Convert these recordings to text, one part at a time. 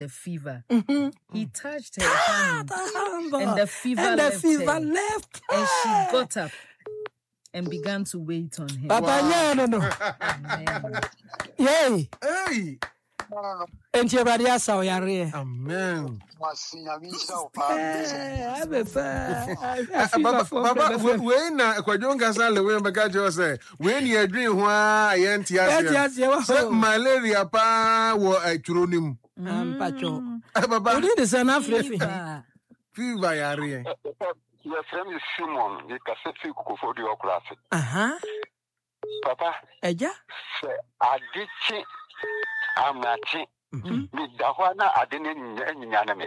the fever. He touched her hand, and the fever And the left fever her. left And she her. got up and began to wait on him. Papa nyɛ no no. Amen. Yei. Hey! Enti Awurade asa wo yareɛ. Amen. Eh, abɛfa. Papa, papa, wei na Kwadwo Nkasa Lewin bɛka kyerɛ wo sɛ wei ne yɛdwen ho a yɛnte Yɛnte aseɛ aseɛ, wɔ sɛ hɔ. malaria paa wɔ atwuro no mu. Mpakyɛw. Papa, Wodin de sɛ na afrɛ fi he? Fever. fever yareɛ. Yɛfrɛ me Simon, mekasa firi Kokofoɔ ɔkora ase. Aha. Papa, Agya. sɛ ade kye amakye, meda hɔ a na ade no anyinyane me.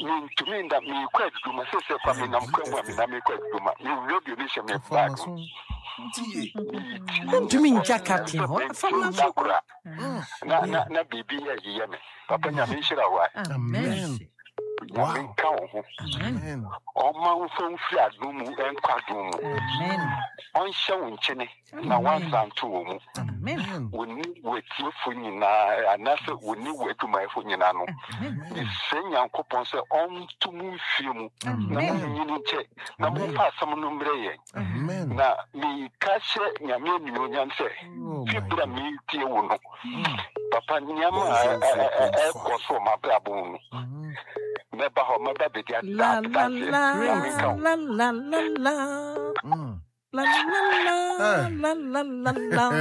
Mentumi nda, meekɔ adwuma sɛsɛ kwa menam kwa mu a menam meekɔ adwuma. Me radio no hyɛ me bag mu. Wontumi ngya captain hɔ. Fam na so. Kora. Na na na biribi yɛ yeyɛ me. Papa, Nyame nhyira wo a. Amen. Nyame nka wo ho. Amen. Ɔma wo mfa mfiri adom mu nkɔ adom mu. Amen. Ɔnhyɛ wo nkyene na wansa nto wɔ mu. Amen. Wo ne w'atiefo nyinaa anaasɛ wo ne w'adwumayɛfo nyinaa no, mesrɛ Nyankopɔn sɛ ɔnto mo mfie mu na monnyini nkyɛ na momfa asɛm no mmerɛ yɛn. Amen. Na meka hyɛ Nyame animuonyam sɛ Oh fi my berɛ a God. meretie wo no, papa, nneɛma a ɛkɔ so wɔ m'abrabɔ mu no, mɛba hɔ, mɛba bɛdi La la adanseɛ. la Nyame nka wo. la la la la. La la la Eh. la la la la. Eh.